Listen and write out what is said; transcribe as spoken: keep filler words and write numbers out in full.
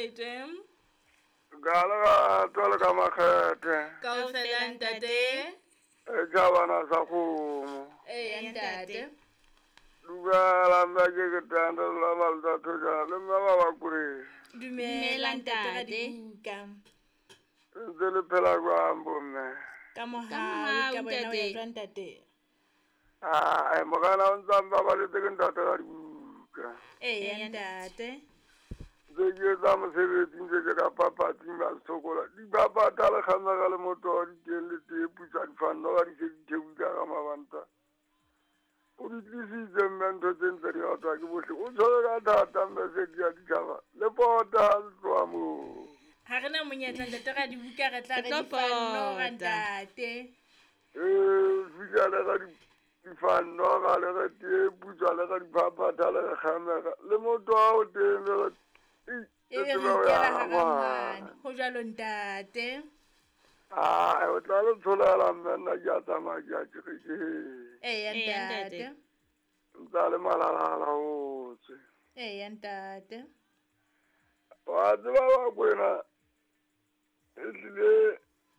tjhelete. Ka lerato le ka makgethe. Kaofela ntate. E tjhabana sa kgomo. Eya ntate. Dumela mme ke ke tanda la malta thojana le mme ba ba kure. Dumela ntate Radibuka. Ntse le phela jwang bomme? Ka mohau ka bona o ya jwang ntate? Ah, morena o ntse a mbabaletse ke ntate Radibuka. Eya ntate. Ntse ke etsa mosebetsi ntse ke ka papatsing ba sokola. Dipapatha le kgamega le moto di teng le tee putsa difanno ga di se di thebuka ka mabanta. O di tlisitse mme ntho tse ntse di ratwa ke bohle. O tshwere ka thata mme se di a ditjhaba. Le pota le tloha moo. Ha re na monyetla ntate Radibuka re tla re difanno ga ntate. Eh, fihla le ga difanno ga le ga tee putsa le ga diphaphatha le ga kgamega. Le moto wa o teng le e be re ikela hara ho jwalo ntate. Ah, o tla le tsholela mme nna ke a tsamaya ke a kerekeng. Eya ntate. Ntsa le malalala o tswe. Eya ntate. Wa tseba wa kwena ehlile